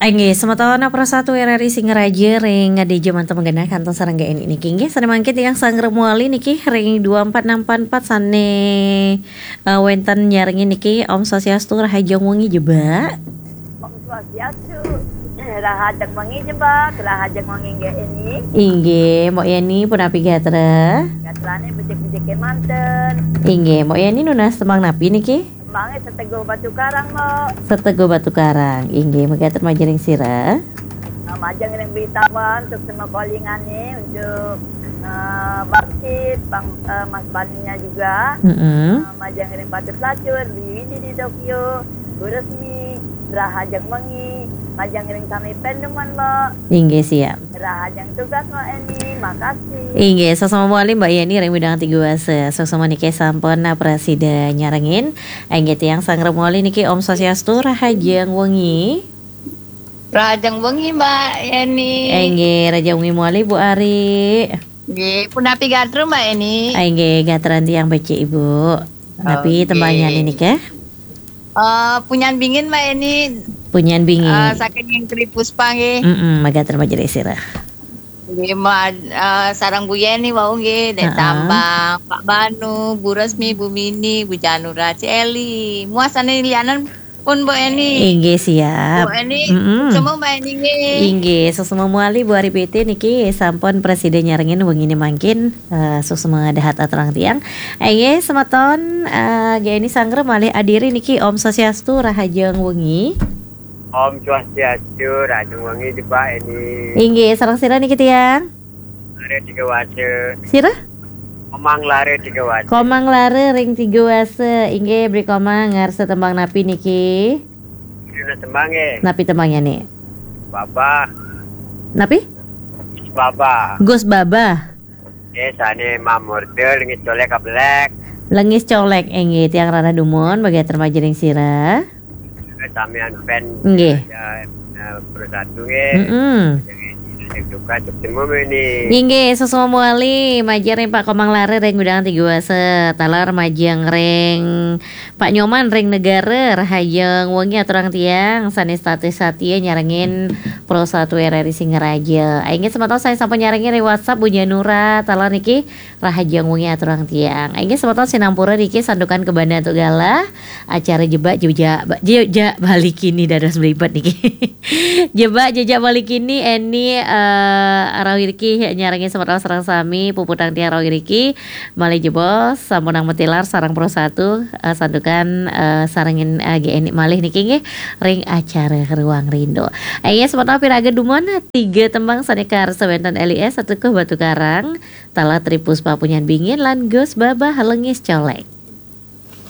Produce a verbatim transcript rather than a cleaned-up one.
Inggih, semeton Pro satu R R I Singaraja ring D J manten magenah kantos sareng G N I niki. Inggih, sané mangkin tiang sangrep malih niki ring dua empat enam empat empat sané, eh, wénten nyarengin niki. Om Swastiastu, rahajeng wengi jebak. Om Swastiastu, rahajeng wengi jebak, rahajeng wengi G N I. Inggih, Mbok Yeni punapi gatra? Gatrané becik-becik manten. Inggih, Mbok Yeni nunas tembang napi niki? Tembangé Seteguh Batu Karang, Mbok. Seteguh Batu Karang. Inggih, mekaten majeng ring sira. Eh, majeng ring Bli Tawan, suksma kalingané untuk, eh, Bangkit, Bang, eh, Mas Baninya juga. Mm-mm. Eh, majeng ring Patut Lacur, Bli Widi di Tokyo, Bu Resmi, rahajeng wengi, majeng ring sami panemuan, Mbok. Inggih, siap. Rahajeng tugas, Mbok Eni, makasih. Inggih, suksma malih Mbok Yeni ring Widang Tiga Wasa. Suksma niki sampun, nah, prasida nyarengin. Inggih, tiang sangrep malih niki, Om Swastiastu, rahajeng wengi. Rahajeng wengi, Mbok Yeni. Inggih, rahajeng wengi malih Bu Ari. Nggih, punapi gatra, Mbok Yeni? Inggih, gatran tiang becik, Ibu. Napi tembangnyané nika? Eh, Punyan Bingin, Mbok Yeni. Punyan Bingin. Eh, saking Tri Puspa nggih. Mm-mm, mekaten majeng ring sira. Nggih, Mbok, eh, sareng Bu Yeni wau nggih, Dék Tambang, Pak Banu, Bu Resmi, Bu Mini, Bu Janura, Ci Eli. Muah sané lianan pun, Mbok Eni. Inggih, siap. Mbok Eni, mm-mm, suksma, Mbok Eni nggih. Inggih, suksma malih Bu Ari P T niki sampun prasida nyarengin wengine mangkin, eh, suksma dahat aturang tiang. Inggih, semeton, eh, G N I sangrep malih adiri niki. Om Swastiastu, rahajeng wengi. Om Swastiastu, rahajeng wengi, Mbok Eni. Inggih, sareng sira niki tiang? Lara Tiga Wasa. Sira? Komang Lara Tiga Wasa. Komang Lara ring Tiga Wasa. Inggih, Bli Komang, ngarsa tembang napi niki? Nunas tembang nggih. Napi tembangnyané? Babah. Napi? Babah. Gus Babah. Nggih, sané mamurda Lengis Colek Kablek. Lengis Colek, inggih, tiang rarah dumun, mekaten majeng ring sira. Samian fan. Nggih. Ya, eh, Pro satu nggih. Mm-mm. Jangan juga cek semua ini. Inggih, suksma malih, majeng ring Pak Komang Lara ring Widang Tiga Wasa, taler majeng ring Pak Nyoman ring Negara, rahajeng wengi aturang tiang, sané setata satia nyarengin Pro satu R R I Singaraja. Inggih, semeton sané sampun nyarengin ring WhatsApp, Bu Janura, taler niki, rahajeng wengi aturang tiang. Inggih, semeton sinampura niki santukan kabanda antuk galah acara Jebak Jejak, Jejak Bali Kini dados mlibet niki. Jebak Jejak Bali Kini, Eni, eh, rauh iriki nyarengin semeton sareng sami, puputang tiang rauh iriki, malih jebos, sampunang matilar sareng Pro satu, eh, santukan, eh, sarengin, eh, G N I malih niki nggih, ring acara Ruang Rindu. Inggih, semeton piraga dumun, tiga tembang sané karsa wénten L I S Seteguh Batu Karang, taler Tri Puspa Punyan Bingin, lan Gus Babah Lengis Colek.